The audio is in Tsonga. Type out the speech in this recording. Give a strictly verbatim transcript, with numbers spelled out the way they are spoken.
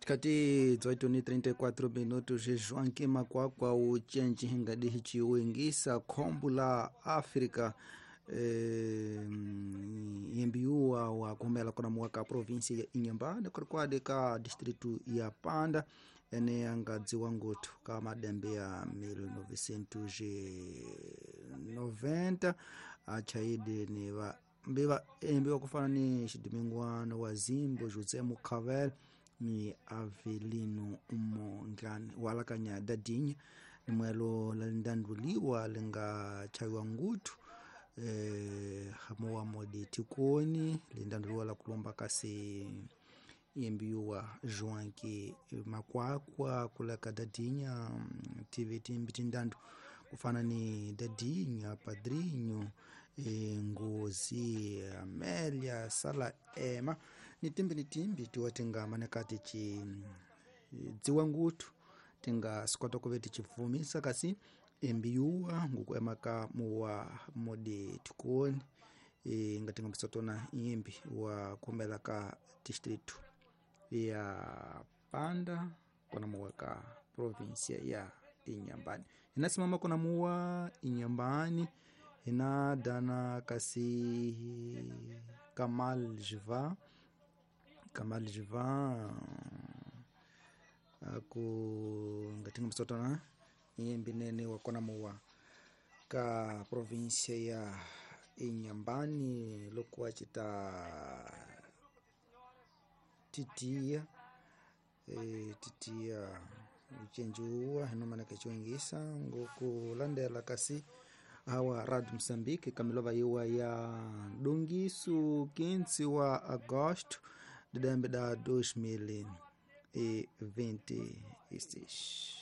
Tikati dezoito ni trinta e quatro minutos, Joaquim Makwakwa ucenji hingadihi chiwingisa khombo la África eh, yembiuwa wa kumela kona muwaka província ya Inhambane kurikwadi ka distrito ya Panda ene angadziwa nguthu ka madembe ya mil novecentos e noventa achaide ni va mbiva embiwa kufana ni xidimingwano wa Zimbo José Mucavel ni Avelino Mongane walakanya dadinya ni mwelo lalindanduliwa linga chawiwa nguthu eh, hamuwa modi tikoni lindanduliwa la kulomba kasi yembiwa Joaquim Makwakwa kulaka dadinya T V timbi tindandu kufana ni dadinya padrinho e, ngozi Amélia Sala Ema ni timbi ni timbi tiwa tinga manekati ci dziwa nguthu tinga sikota kuve tichivumisa kasi embiyuwa ngukuema ka muwa modi tikoni e, ngatinga mpisotona imbi wa kumela ka distrito ya Panda kona muwa ka província ya Inhambane inasimama kona muwa Inhambane ina dana kasi Kamal Jiva Kamal Jiva aku ngatinga msotona imbi nene wakona muwa ka província ya Inhambane lokuwa chita titia e, titia uchenjuwa hinomanaka chiwingisa ngokulandela kasi hawa Radio Moçambique kamilova yiwa ya dongisu quinze wa agosto de dezembro de dois mil e vinte e seis.